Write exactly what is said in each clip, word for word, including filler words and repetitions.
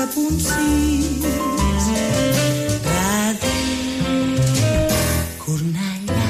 quatre punt sis. Ràdio Cornellà.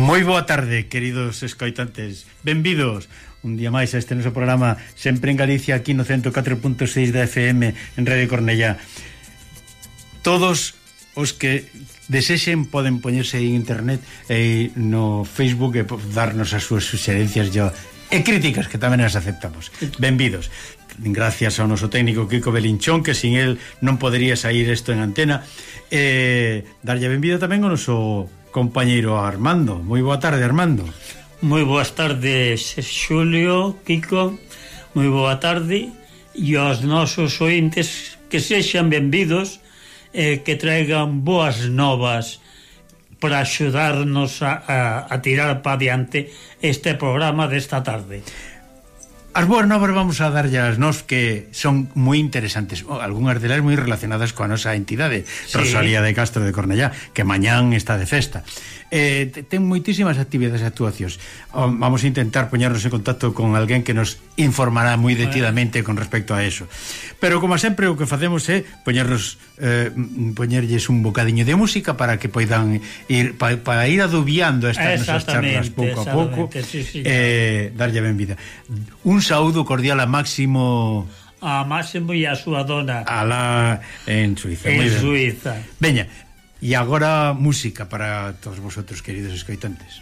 Moi boa tarde, queridos escoitantes. Benvidos un día máis a este noso programa, sempre en Galicia, aquí no ciento catro punto seis da F M en Radio Cornellá. Todos os que desexen poden poñerse en internet e no Facebook e darnos as súas suxerencias e críticas, que tamén as aceptamos. Benvidos. Gracias ao noso técnico Kiko Belinchón, que sin el non podería sair isto en antena. E darlle benvido tamén ao noso compañeiro Armando. Moi boa tarde, Armando. Moi boas tardes, Xulio, Kiko. Moi boa tarde. E aos nosos ointes que sexan benvidos e eh, que traigan boas novas para axudarnos a, a, a tirar para adiante este programa desta tarde. As boas novas vamos a darlle as nos que son moi interesantes, oh, algunhas delas moi relacionadas coa nosa entidade, sí. Rosalía de Castro de Cornellá, que mañán está de festa. Eh, ten moitísimas actividades e actuacións. Oh, vamos a intentar poñernos en contacto con alguén que nos informará moi detidamente con respecto a eso. Pero como sempre o que facemos é poñernos eh, poñerlles un bocadiño de música para que poidan ir para pa ir adubiando estas nosas charlas pouco a pouco, sí, sí, eh, darlle benvida. Un saúdo cordial a Máximo, a Máximo e a súa dona alá en Suiza. En Suiza. Veña, e agora música para todos vosotros, queridos escoitantes.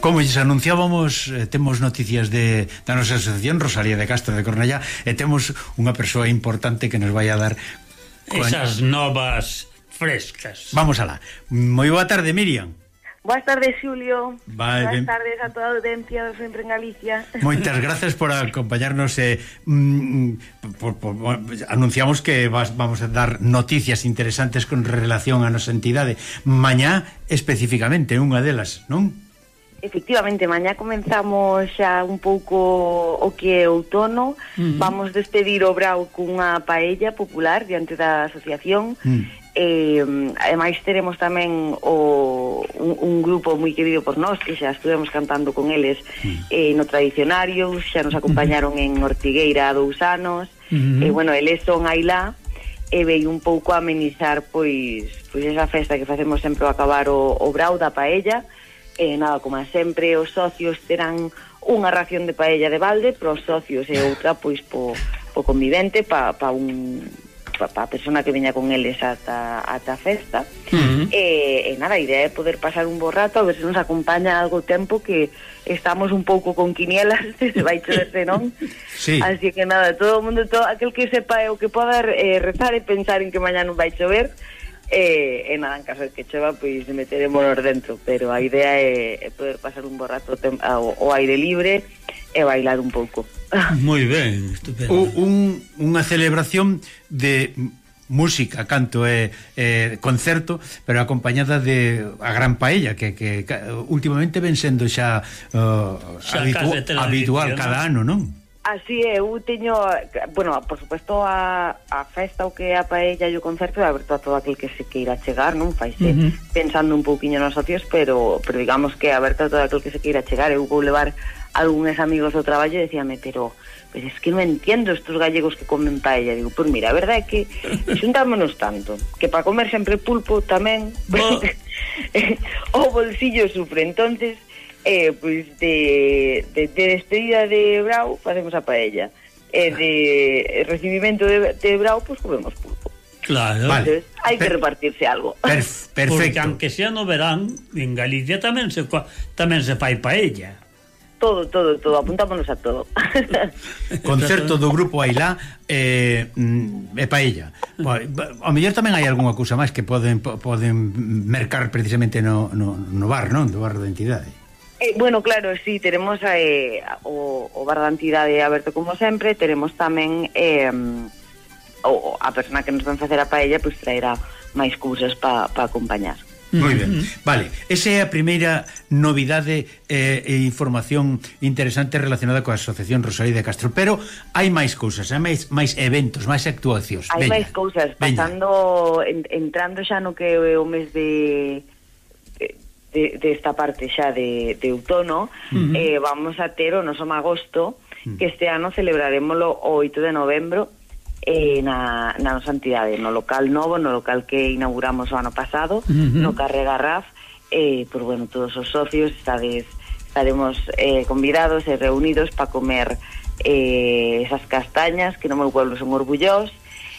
como lles anunciábamos, eh, temos noticias de, da nosa asociación Rosalía de Castro de Cornellá, e temos unha persoa importante que nos vai a dar esas novas frescas. Vamos alá. Moi boa tarde, Miriam. Boas tardes, Xulio. Vale, Boas ben... tardes a toda a audiencia de Sempre en Galicia. Moitas gracias por acompañarnos. Eh, mm, por, por, por, anunciamos que vas, vamos a dar noticias interesantes con relación a nosa entidade. Mañá, especificamente, unha delas, non? Efectivamente, mañá comenzamos xa un pouco o que é outono. Uh-huh. Vamos despedir o Brao cunha paella popular diante da asociación. Uh-huh. E, ademais teremos tamén o, un, un grupo moi querido por nós que xa estuvemos cantando con eles mm. eh, no Tradicionario, xa nos acompañaron mm-hmm. en Ortigueira há dous anos mm-hmm. e bueno, eles son aí lá e veio un pouco a amenizar pois, pois esa festa que facemos sempre ao acabar o, o Brao da paella e nada, como sempre os socios terán unha ración de paella de balde para os socios e outra pois po, po convivente pa, pa un para a persona que veña con eles ata, ata a festa. Uh-huh. e, e nada, a idea é poder pasar un bo rato, a ver se nos acompaña algo tempo, que estamos un pouco con quinielas se vai chover, non? Sí. Así que nada, todo o mundo, todo aquel que sepa o que poda eh, rezar e pensar en que mañá non vai chover, e, e nada, en caso de que chova, pois meterémonos dentro, pero a idea é, é poder pasar un bo rato tem, ao, ao aire libre e bailar un pouco. Moi ben, estupendo. O, un, unha celebración de música, canto e eh, concerto, pero acompañada de a gran paella que, que, que últimamente ven sendo xa, uh, xa habitu habitual cada ano, non? Así é, eu teño, bueno, por supuesto a, a festa o que é a paella e o concerto é aberto a todo aquel que se queira chegar, non? Faise uh-huh. pensando un pouquiño nos socios, pero, pero digamos que é aberto a todo aquel que se queira chegar. Eu vou levar algúns amigos do traballo e decíame, pero pues es que non entendo estos gallegos que comen paella. Digo, pois pues mira, a verdade é que xuntámonos tanto que para comer sempre pulpo tamén o bolsillo sufre. Entonces eh, pues de, de, de despedida de Brao facemos a paella e de recibimento de, de Brao pues comemos pulpo. Claro. Entonces, vale. hai que Per repartirse algo. Perf perfecto. Porque aunque sea no verán, en Galicia tamén se tamén se fai paella. Todo, todo, todo, apuntámonos a todo. Concerto do grupo Ailá e, mm, e paella. Ao mellor tamén hai algunha cousa máis que poden poden mercar precisamente no, no, no bar, non? Do bar da entidade. Eh, bueno, claro, sí, teremos eh, o, o bar da entidade aberto como sempre. Teremos tamén eh, o, a persona que nos van facer a paella pues traerá máis cousas para pa acompañar. Moi ben, vale, esa é a primeira novidade eh, e información interesante relacionada coa Asociación Rosalía de Castro, pero hai máis cousas, hai máis, máis eventos, máis actuacións. Hai máis cousas, pasando en, entrando xa no que é o mes de de, de esta parte xa de, de outono, uh-huh. eh, vamos a ter o noso magosto, uh-huh. que este ano celebraremoslo o oito de novembro, Eh, na, na nosa entidade, no local novo, no local que inauguramos o ano pasado, uh-huh. no Carré Garraf. Eh, pues bueno, todos os socios estades, estaremos eh, convidados e reunidos para comer eh, esas castañas que no meu pueblo son orgullós,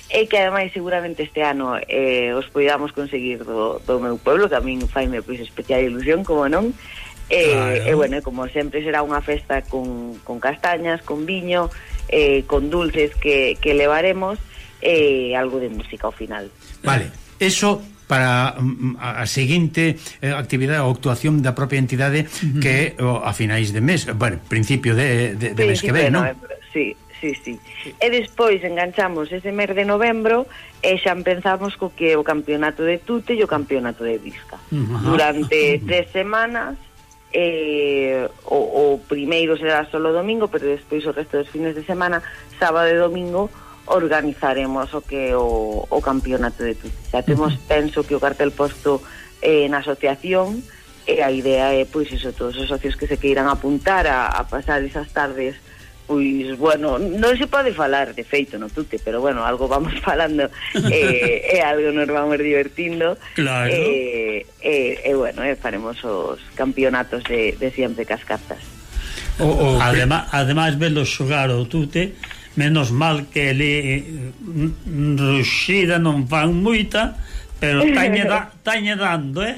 e que ademais seguramente este ano eh, os podamos conseguir do, do meu pueblo, que a min faime pois especial ilusión, como non. E eh, eh, bueno, como sempre será unha festa con, con castañas, con viño, eh, con dulces que, que levaremos e eh, algo de música ao final. Vale, eso para a seguinte eh, actividade ou actuación da propia entidade, uh-huh. que o, a finais de mes, bueno, principio de, de, de mes que ven, non? Sí, sí, sí. E despois enganchamos ese mes de novembro e xa empezamos co que o campeonato de Tute e o campeonato de Visca. Uh-huh. Durante tres semanas. Eh, o, o primeiro será solo domingo, pero despois o resto dos fines de semana, sábado e domingo, organizaremos o que o, o campeonato de Tute. Xa temos, uh-huh. penso que o cartel posto eh, na asociación, e a idea é, pois, iso, todos os socios que se queiran apuntar a, a pasar esas tardes, pois, bueno, non se pode falar de feito no Tute, pero bueno, algo vamos falando e eh, eh, algo nos vamos divertindo. Claro. E eh, eh, eh, bueno, eh, faremos os campeonatos de, de siempre cas cartas. O, o, ademais, ademais velo xogar o Tute, menos mal que ele ruxida non fan moita, pero tañe, da, tañe dando, eh?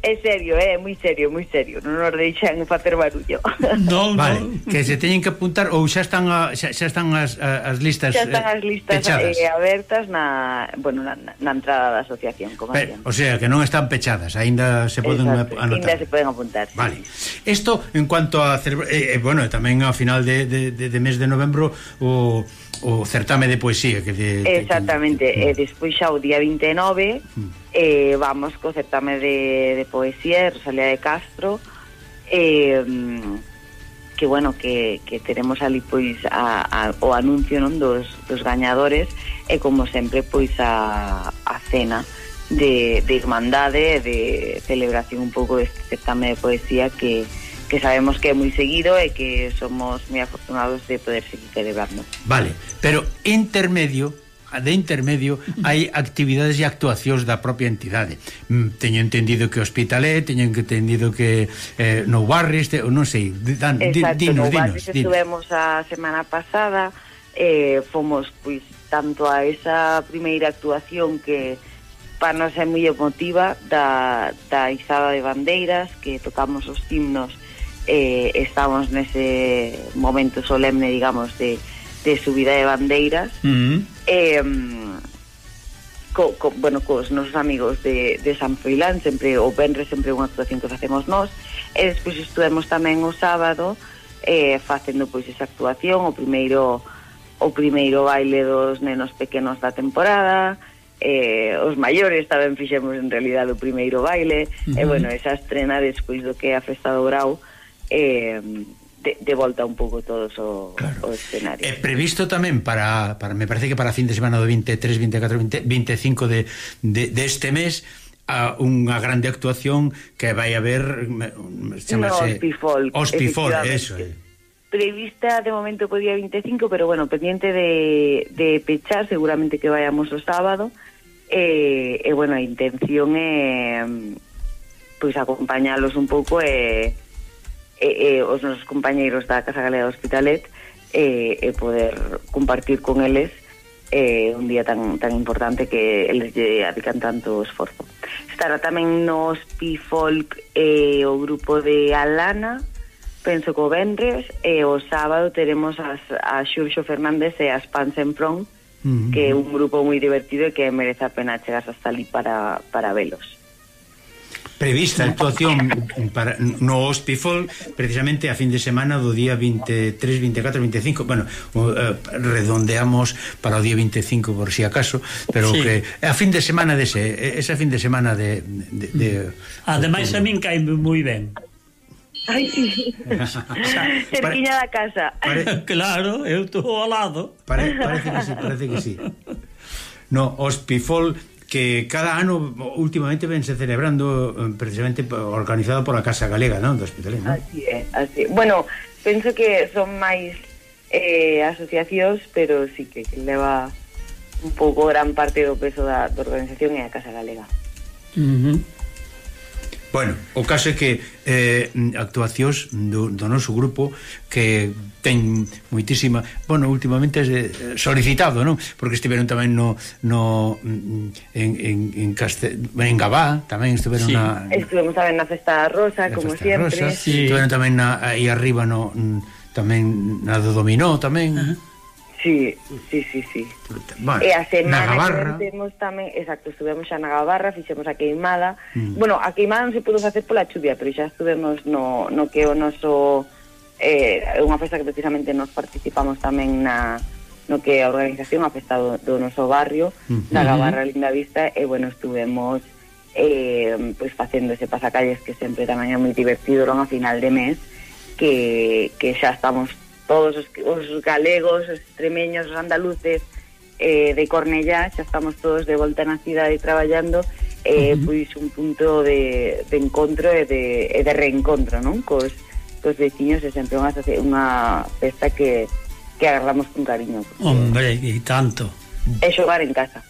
É serio, é moi serio, moi serio. Non nos deixan facer barullo. Non, Vale, non. que se teñen que apuntar ou xa están a, xa, xa están as, as listas Xa están eh, as listas pechadas. eh, abertas na, bueno, na, na entrada da asociación, como Pero, decían. o sea, que non están pechadas, aínda se poden Exacto, anotar. ainda se poden apuntar. Sí. Vale. Isto en cuanto a celebra... eh, eh, bueno, tamén ao final de, de, de, de mes de novembro o, o certame de poesía que de, Exactamente, que, que... e despois xa o día vinte e nove mm. eh, vamos co certame de, de poesía de Rosalía de Castro, eh, que bueno, que, que teremos ali pois a, a, o anuncio, non, dos, dos gañadores e como sempre pois a, a cena de, de irmandade, de celebración un pouco deste certame de poesía que que sabemos que é moi seguido e que somos moi afortunados de poder seguir celebrando. Vale, pero intermedio, de intermedio hai actividades e actuacións da propia entidade. Mm, teño entendido que Hospitalet, teño entendido que eh, no Barris, te, non sei, dan, Exacto, dinos, no dinos, Barris estuvemos a semana pasada, eh, fomos pois tanto a esa primeira actuación que para nos é moi emotiva da, da izada de bandeiras, que tocamos os himnos. Eh, estamos nese momento solemne, digamos, de, de subida de bandeiras. Mm. eh, co, co, bueno, cos nosos amigos de, de San Froilán, sempre o venres sempre unha actuación que facemos nós, e despois estuvemos tamén o sábado eh, facendo pois esa actuación, o primeiro o primeiro baile dos nenos pequenos da temporada. Eh, os maiores tamén fixemos en realidad o primeiro baile. Uh-huh. E bueno, esa estrena despois do que é a Festa do Grau, eh, de, de volta un pouco todos o, claro. o escenario. É previsto tamén para, para, me parece que para a fin de semana do veintitrés, veinticuatro, veinte, veinticinco de, de, de este mes, a unha grande actuación que vai haber, chamase no, Hospifolk, Hospifolk, eso é. Prevista de momento po día veinticinco, pero bueno, pendiente de, de pechar, seguramente que vayamos o sábado. E, e bueno, a intención é pois acompañalos un pouco e, e, e os nosos compañeiros da Casa Galega do Hospitalet e, e poder compartir con eles eh, un día tan tan importante que eles lle adican tanto esforzo. Estará tamén no Hospifolk eh, o grupo de Alana, penso que o venres, e o sábado teremos as, a Xurxo Fernández e as Pans en Front, uh-huh. que é un grupo moi divertido e que merece a pena chegarse hasta ali para, para velos. Prevista a actuación para, no Hospifolk precisamente a fin de semana do día veintitrés, veinticuatro, veinticinco, bueno, uh, redondeamos para o día veinticinco por si acaso, pero sí. que a fin de semana dese, ese fin de semana de, de, de ademais a min caime moi ben. Ai, sí. Cerquiña da casa. Pare... Claro, eu estou ao lado. Pare, parece que sí, parece que sí. No, Hospifolk que cada ano últimamente vense celebrando precisamente organizado pola Casa Galega, non? Do Hospitalet, non? Así é, así. Bueno, penso que son máis eh, asociacións, pero sí que leva un pouco gran parte do peso da, da organización e a Casa Galega. Uh-huh. Bueno, o caso é que eh, actuacións do, do noso grupo que ten moitísima, bueno, últimamente é solicitado, non? Porque estiveron tamén no, no en, en, en, Castel, en Gabá, tamén estiveron sí. na... Estuvemos tamén na Festa da Rosa, na como sempre. Rosa, sí. Estiveron tamén na, aí arriba no, tamén na do Dominó, tamén. Uh-huh. Sí, sí, sí, sí. Bueno, e a semana que temos tamén, exacto, estuvemos xa na Gabarra, fixemos a queimada. Mm. Bueno, a queimada non se pudo facer pola chuvia, pero xa estuvemos no, no que o noso é eh, unha festa que precisamente nos participamos tamén na no que a organización, a festa do, do noso barrio, mm. na Gabarra Linda Vista, e bueno, estuvemos eh, pues facendo ese pasacalles que sempre tamén é moi divertido, non, a final de mes, que, que xa estamos todos os, os galegos, os extremeños, os andaluces eh, de Cornellá, xa estamos todos de volta na cidade traballando, eh, uh-huh. pois un punto de, de encontro e de, e de reencontro, non? Cos, cos veciños, é sempre unha, unha festa que, que agarramos con cariño. Hombre, e tanto. É xogar en casa.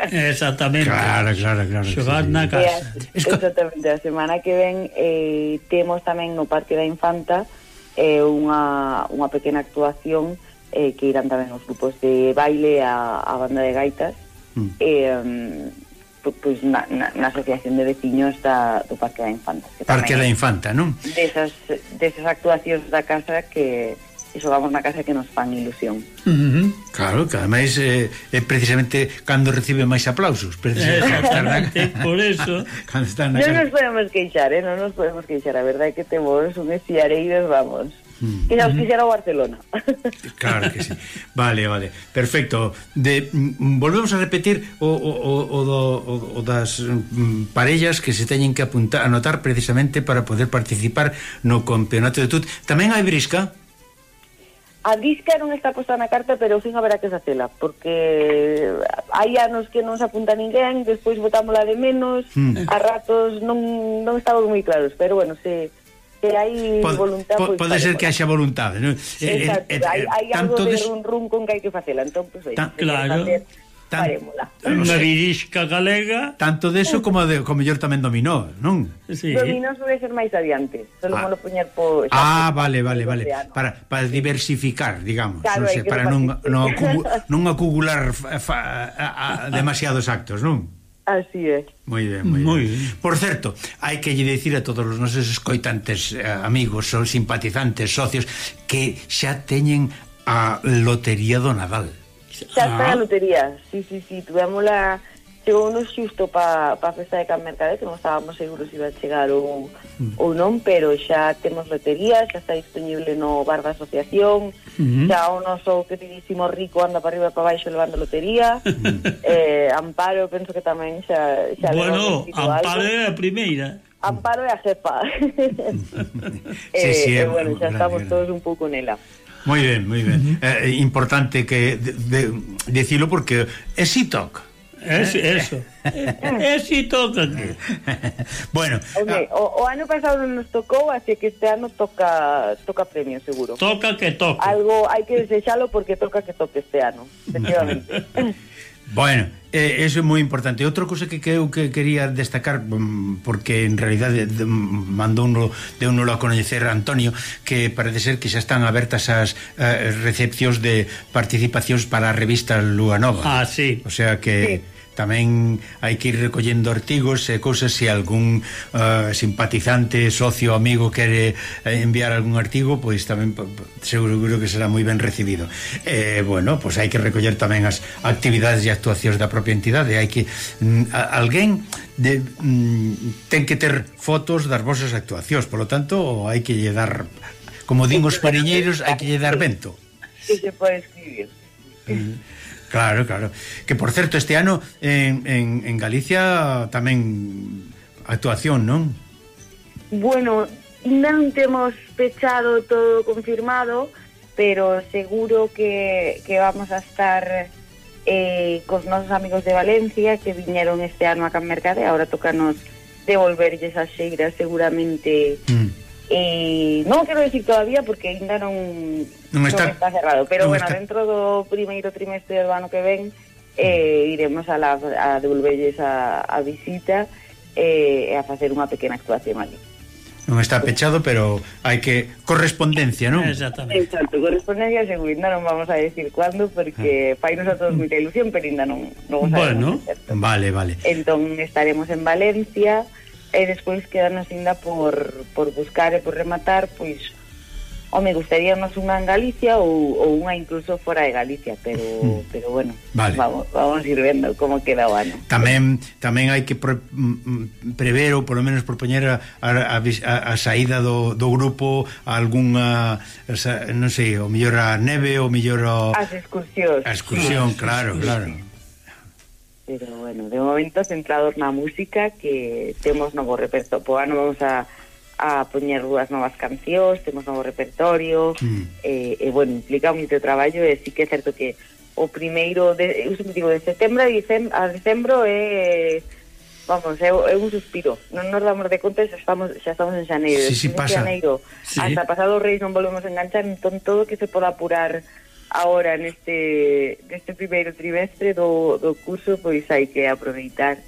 Exactamente. Claro, claro, claro. Xogar sí, na casa. A, exactamente, a semana que ven eh, temos tamén no Parque da Infanta é unha, unha pequena actuación eh, que irán tamén os grupos de baile, a, a banda de gaitas, mm. e, um, pois na, na, na asociación de veciños da, do Parque da Infanta. Parque da Infanta, non? Desas, desas actuacións da casa que iso vamos na casa que nos fan ilusión. Uh-huh. Claro, que ademais é eh, precisamente cando recibe máis aplausos, precisamente por eso. Cando están na non casa. nos podemos queixar, eh? non nos podemos queixar, a verdade é que temos un estiareiros, vamos, mm. que xa os quixera o Barcelona. Claro que sí. Vale, vale. Perfecto. De, mm, volvemos a repetir o, o, o, do, o, o das mm, parellas que se teñen que apuntar, anotar precisamente para poder participar no campeonato de tut. Tamén hai brisca? A disca non está posta na carta, pero fin haberá que facela, porque hai anos que non se apunta ninguén, despois botámola de menos, mm. a ratos non, non estamos moi claros, pero bueno, se, se hai pod, voluntad... Po, pues, pode ser que haxa voluntade, non? Exacto, eh, eh, hai, hai algo de des... run run con que hai que facela, entón, pues, Ta, claro. Tan, unha virisca galega. Tanto deso como de, como mellor tamén dominó, non? Sí. Dominó suele ser máis adiante. Solo ah. mo lo poñer po... Ah, vale, vale, vale. Para, para diversificar, digamos. Claro, non sei, para non, non, acugu, non acumular fa, fa, a, a, demasiados actos, non? Así é. Moi ben, moi, moi ben. ben. Por certo, hai que lle dicir a todos os nosos escoitantes, eh, amigos, ou simpatizantes, socios, que xa teñen a lotería do Nadal. Xa está a lotería, sí, sí, sí, tuvémola, chegou unos xusto pa, pa festa de Can Mercade, que non estábamos seguros se iba a chegar ou, mm. ou non, pero xa temos lotería, xa está disponible no bar da asociación, mm-hmm. xa o noso queridísimo Rico anda para arriba e para baixo levando lotería, mm. eh, Amparo penso que tamén xa... xa bueno, Amparo é a primeira. Amparo é a jefa. sí, sí, eh, eh, bueno, xa estamos todos un pouco nela. Moi ben, moi ben. É uh-huh. eh, importante que de, de, decilo porque é si toca. Es, eso. É si toca. Bueno, okay, ah, o, o ano pasado nos tocou, así que este ano toca toca premio seguro. Toca que toque. Algo hai que desexalo porque toca que toque este ano, efectivamente. Bueno, eh, eso é moi importante. Outra cousa que, que eu que quería destacar, porque en realidade mandou uno, de uno a coñecer a Antonio, que parece ser que xa están abertas as eh, recepcións de participacións para a revista Lúa Nova. Ah, sí. O sea que... Sí. Tamén hai que ir recollendo artigos e cousas, se algún uh, simpatizante, socio, amigo quere enviar algún artigo, pois tamén seguro que será moi ben recibido. Eh, bueno, pois hai que recoller tamén as actividades e actuacións da propia entidade. Hai que mm, a, alguén de, mm, ten que ter fotos das vosas actuacións, polo tanto hai que lle dar, como din os pariñeiros, hai que lle dar vento. Que se pode escribir. Mm. Claro, claro. Que, por certo, este ano en, en, en Galicia tamén actuación, non? Bueno, non temos pechado todo confirmado, pero seguro que, que vamos a estar eh, cos nosos amigos de Valencia que viñeron este ano a Can Mercade. Ahora tocanos devolverlles a xeira seguramente... Mm. E non quero decir todavía porque ainda non, non, está, non está cerrado, pero bueno, está. Dentro do primeiro trimestre do ano que ven eh, iremos a, la, a devolverles a, a visita e eh, a facer unha pequena actuación ali. Non está pechado, pero hai que correspondencia, non? Exactamente. Exacto, correspondencia seguro, ainda non vamos a decir cuándo porque ah. fainos a todos moita ilusión, pero ainda non, non bueno, sabemos. Vale, vale. Entón estaremos en Valencia e despois quedarnos ainda por, por buscar e por rematar, pois o me gustaríamos unha en Galicia ou, ou unha incluso fora de Galicia, pero mm. pero bueno, vale. vamos, vamos ir vendo como queda o ano. Tamén tamén hai que pre, prever ou polo menos propoñer a, a, a, a saída do, do grupo a algunha, non sei, o mellor a neve, o mellor a... As excursións. A excursión, claro, claro. Pero bueno, de momento centrados na música, que temos novo repertorio. Po ano vamos a, a poñer dúas novas cancións, temos novo repertorio, mm. e, e bueno, implica moito traballo, e sí que é certo que o primeiro, de, eu sempre digo, de setembro a dicembro, a decembro é, vamos, é, é un suspiro. Non nos damos de conta, xa estamos, xa estamos en xaneiro. Sí, sí, pasa. Xaneiro, sí. Hasta pasado Reis non volvemos a enganchar, entón todo que se poda apurar ahora neste neste primeiro trimestre do, do curso, pois hai que aproveitar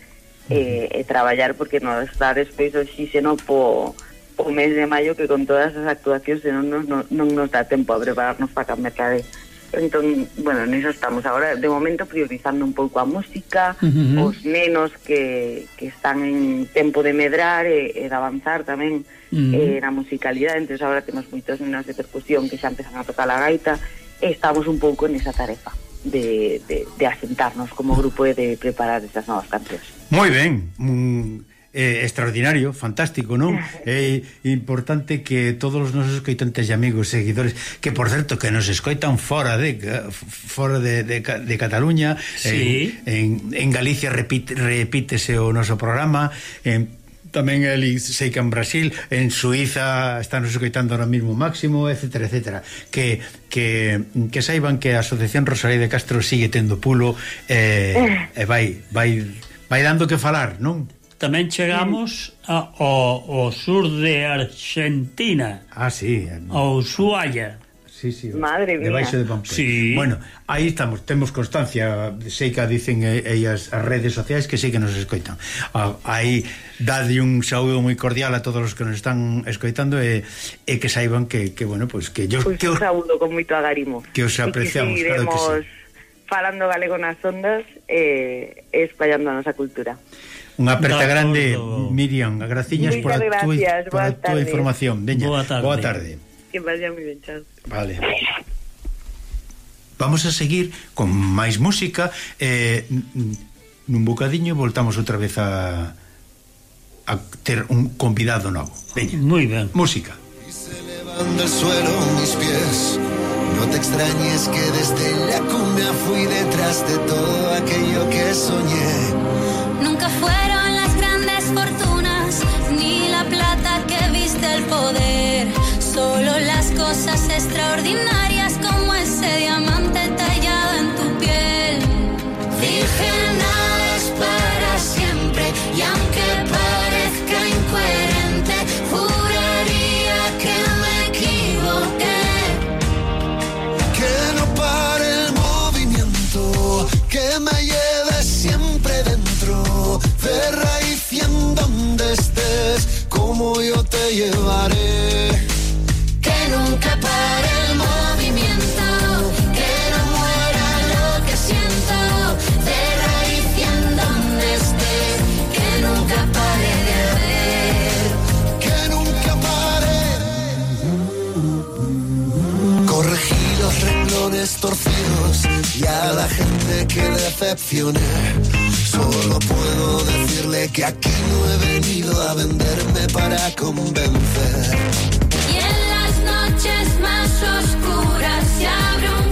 e, e traballar, porque nos dá despois o xíxeno po, po mes de maio, que con todas as actuacións non nos, non, non nos dá tempo a prepararnos para Can Mercade. Entón, bueno, niso estamos agora, de momento, priorizando un pouco a música, Uh-huh. os nenos que, que están en tempo de medrar e, e de avanzar tamén Uh-huh. eh, na musicalidade. Entón, agora temos moitos nenos de percusión que xa empezan a tocar a gaita, e estamos un pouco nesa tarefa de, de, de asentarnos como grupo e de preparar estas novas cancións. Moi ben, mm, eh, extraordinario, fantástico, non? É importante que todos os nosos escoitantes e amigos, seguidores, que por certo que nos escoitan fora de fora de, de, de Cataluña, sí. en, en Galicia repite, repítese o noso programa, en tamén el sei que en Brasil, en Suiza están nos escoitando ahora mismo Máximo, etcétera, etcétera, que, que, que saiban que a Asociación Rosalía de Castro sigue tendo pulo e eh, eh, vai, vai, vai dando que falar, non? Tamén chegamos a, ao, ao sur de Argentina, Ah, sí. ao Ushuaia. Sí, sí. Madre mía. Debaixo de Pamplona. Sí. Bueno, aí estamos, temos constancia, sei que dicen ellas as redes sociais que sí que nos escoitan. Ah, aí dade un saúdo moi cordial a todos os que nos están escoitando e, e que saiban que, que bueno, pues que yo Pois que un os, saúdo con moito agarimo. que os apreciamos, e que claro que sí. falando galego nas ondas e eh, espallando a nosa cultura. Unha aperta De grande, acordo. Miriam, graciñas por a Moitas túa gracias, por a boas túa tardes. información. Veña, Boa tarde. boa tarde. Que vaya moi ben, chao. Vale. Vamos a seguir con máis música eh, nun bocadiño voltamos outra vez a a ter un convidado novo. Veña, Muy ben. música. Y se elevan del suelo mis pies. No te extrañes que desde la cuna fui detrás de todo aquello que soñé. Nunca fueron las grandes fortunas ni la plata que viste el poder, solo las cosas extraordinarias como ese diamante tallado en tu piel. Dije nada es para siempre y aunque parezca incoherente, juraría que me equivoqué. Que no pare el movimiento, que me lleve siempre dentro, de raíz y en donde estés, como yo te llevaré. Que nunca pare el movimiento, que no muera lo que siento, de raíz y en donde estés, que nunca pare de ver. Que nunca pare. Corregí los renglones torcidos y a la gente que decepcioné. Solo puedo decirle que aquí no he venido a venderme para convencer. Y en las noches más oscuras se abre un